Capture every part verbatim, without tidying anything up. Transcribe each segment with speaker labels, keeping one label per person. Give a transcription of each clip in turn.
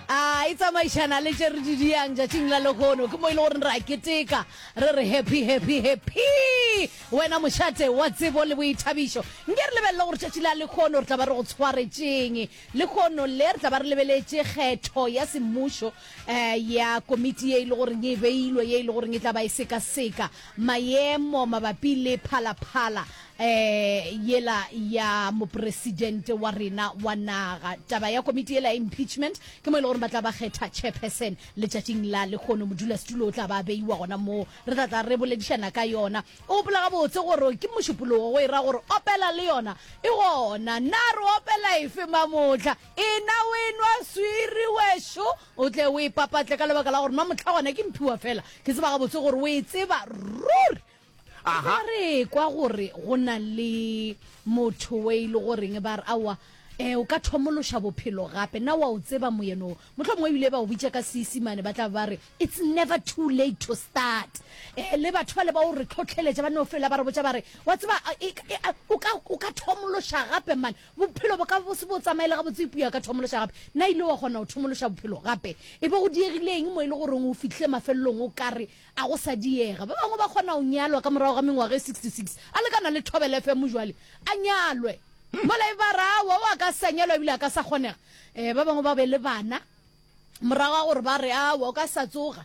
Speaker 1: A e tsamaišana le tše re di diang tšatšing la lehono. Ke mo e le gore re a keteka, re re happy, happy, happy. Wena mošate wa tsebo le boithabišo. Nke re lebelele gore tšatši la lehono re tla ba re go tshwaretšeng. Lehono le re tla ba re lebeletše kgetho ya semmušo eh, ya komiti ye e le goreng e beilwe, ye e le goreng e tla ba e sekaseka maemo mabapi le phalaphala eh, yela ya mopresidente wa rena wa naga. Taba ya komiti yela ya impeachment ke mo e le gore ba tla ba kgetha chairperson letšatšing la lehono. Modulasetulo o tla ba beiwa gona moo, re tla tla re boledišana ka yona. O gopola gabotse gore ke mošupologo, go e ra gore opela le yona e gona. Na re opela efe mamohla? Ena o e nwa swiri wešo, o tle o e papatle ka lebaka la gore mamohla gona ke mphiwa fela. Ke tseba gabotse gore o e tseba ruri.
Speaker 2: Aha.
Speaker 1: Re kwa gore go na le motho we e le goreng ba re aowa, eh, o ka thomološa bophelo gape. Na wa o tseba moyeno? Mohlomongwe ebile ba o bitša ka Seisimane, ba tla ba re it's never too late to start. Eh, le batho ba le ba o re tlhotlheletša, ba no fela ba re botša ba re wa tseba, e, e, o ka, o ka thomološa gape man, bophelo bo ka bo se bo tsamaele gabotse, eupša ka thomološa gape. Na ile wa kgona go thomološa bophelo gape? E be go diegile eng mo e le goreng o fihlile mafelelong o ka re a go sa diega? Ba bangwe ba kgona go nyalwa ka morago ga mengwaga e sixty-six, a lekana le Thobela F M jwale a nyalwe mola e ba ra aowa, o a ka sa nyalwa ebile a ka sa kgonega. Eh, ba bangwe ba be le bana morago ga gore ba re aowa, o ka sa tsoga.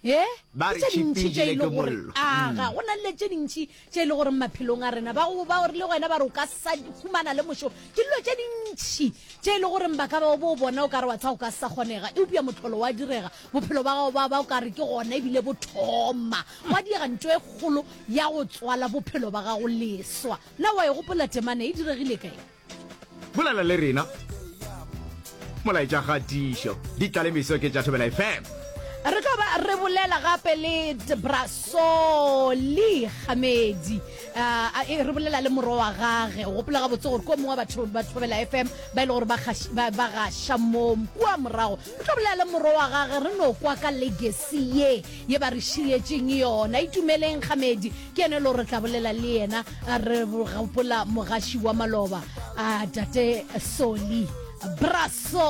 Speaker 1: Eh,
Speaker 2: Ba re
Speaker 1: ke tše dintši
Speaker 2: tšhipi
Speaker 1: tše e
Speaker 2: jele
Speaker 1: le
Speaker 2: ke
Speaker 1: gore
Speaker 2: mollo.
Speaker 1: aga, go na le tše dintši tše e le gore maphelong a rena ba go ba re le wena ba re o ka sa humana le mošomo. Ke dilo tše dintši tše e le gore ba ka ba bo bona o ka re wa tsa go ka sa kgonega, eupša mohlolo wa direga, bophelo ba gago ba ba o ka re ke gona ebile bo thoma. Wa diega ntho e kgolo ya go tswala bophelo ba gago leswa. Na wa e gopola temana e diregile kae?
Speaker 2: Bolela le rena. Molaetša kgatišo ditlalemeso ke tša Thobela F M.
Speaker 1: Re tlo ba re bolela gape le Brasoli Kgamedi. Uh, e, re bolela le morwa wa gage. O gopola gabotse gore ko mongwe wa batho ba Thobela F M ba e le gore ba gaš-, ba, ba gaša mo kua morago. Re tlo bolela le morwa wa gage, re no kwa ka legacy ye ye ba re šietšeng yona. Itumeleng Kgamedi ke yena e le gore re tla bolela le yena, re gopola mogaši wa maloba, uh, Tate Soli Braso.